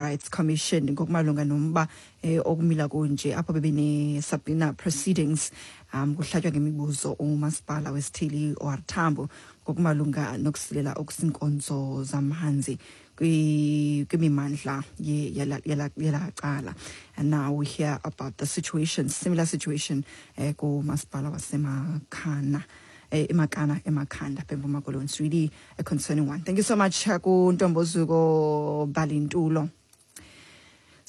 Rights Commission ngokumalunga nomba okumila kunje apho bebene subpoena proceedings, kuhlatywa ngemibuzo umasipala wesithili OR Tambo ngokumalunga nokusilela okusinkonzo zamanzi kwimimandla yela cala. And now we hear about the situation, similar situation kumasipala waseMakhana, eMakana, eMakhanda, eMpuma Koloni. It's really a concerning one. Thank you so much kuNtombozuko Balintulo.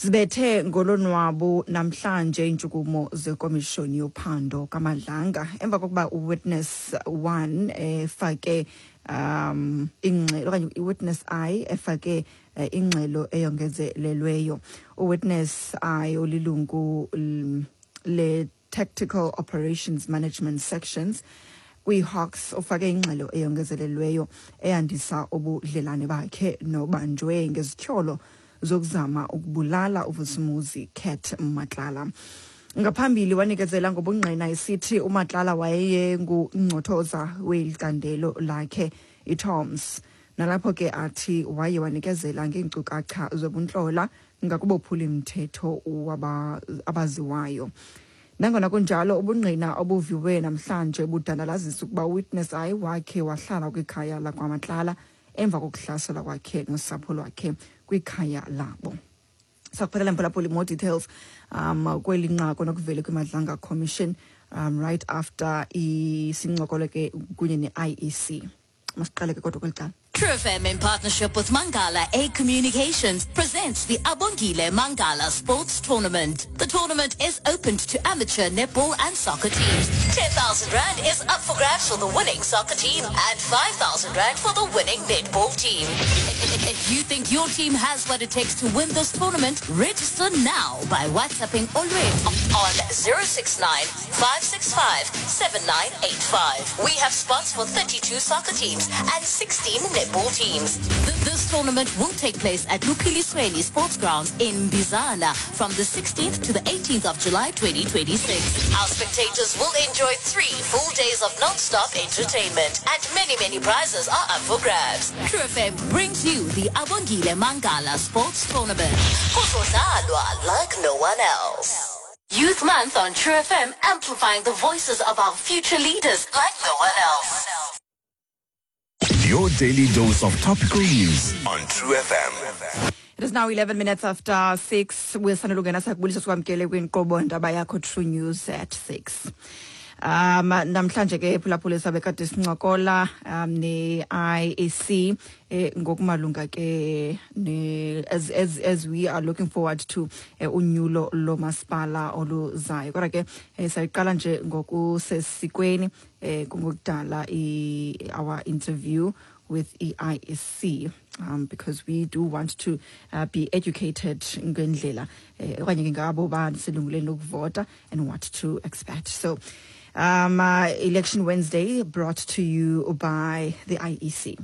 Zibethe ngolonwabo namhlanje intshukumo zekomishoni yophando kaMadlanga emva kokuba uwitness 1 efake ingxelo, okanye iwitness I efake ingxelo eyongezelelweyo. Uwitness I olilungu le Tactical Operations Management Sections kwi-Hawks ufake ingxelo eyongezelelweyo eyandisa ubudlelane bakhe nobanjwe ngezityholo zokuzama ukubulala uVusimuzi Cat Matlala. Ngaphambili wanikezela ngobungqina esithi uMatlala wayengungcothoza weli candelo lakhe iToms, nalapho ke athi waye wanikezela ngeenkcukacha zobuntlola ngakubophuli mthetho abaziwayo. Nangona kunjalo, ubungqina obuviwe namhlanje budandalazisa ukuba uwitness I wakhe wahlala kwikhaya lakwaMatlala emva kokuhlaselwa kwakhe nosapho lwakhe kwikhaya labo. Sakuphathela, mphulaphuli, more details kweli nqaku nokuvele kwiMadlanga Commission right after isincokolo ke kunye ne-IEC. Masiqale ke kodwa kweli cala. True FM, in partnership with Mangala A Communications, presents the Abongile Mangala Sports Tournament. The tournament is open to amateur netball and soccer teams. 10,000 Rand is up for grabs for the winning soccer team and 5,000 Rand for the winning netball team. If you think your team has what it takes to win this tournament, register now by WhatsApping Olwethu on 069 565 7985. We have spots for 32 soccer teams and 16 netball teams. This tournament will take place at Luphilisweni Sports Grounds in Bizana from the 16th to the 18th of July 2026. Our spectators will enjoy 3 full days of non-stop entertainment, and many, many prizes are up for grabs. True FM brings you the Abongile Mangala Sports Tournament. Kuzodlalwa like no one else. Youth Month on True FM, amplifying the voices of our future leaders like no one else. Your daily dose of topical news on True FM. It is now 11 minutes after 6. Wesanelungena sakubulisa, sikwamkele kwinkqubo ndaba yakho True News at 6. Namhlanje ke, phulaphula, sabe kade sincokola ne-IEC ngokumalunga ke ne as we are looking forward to unyulo lomasipala oluzayo. Kodwa ke sayiqala nje ngokusesikweni kungokudala our interview with EIEC, because we do want to be educated ngendlela okanye ke ngabo baselungelweni lokuvota and what to expect. So Election Wednesday brought to you by the IEC.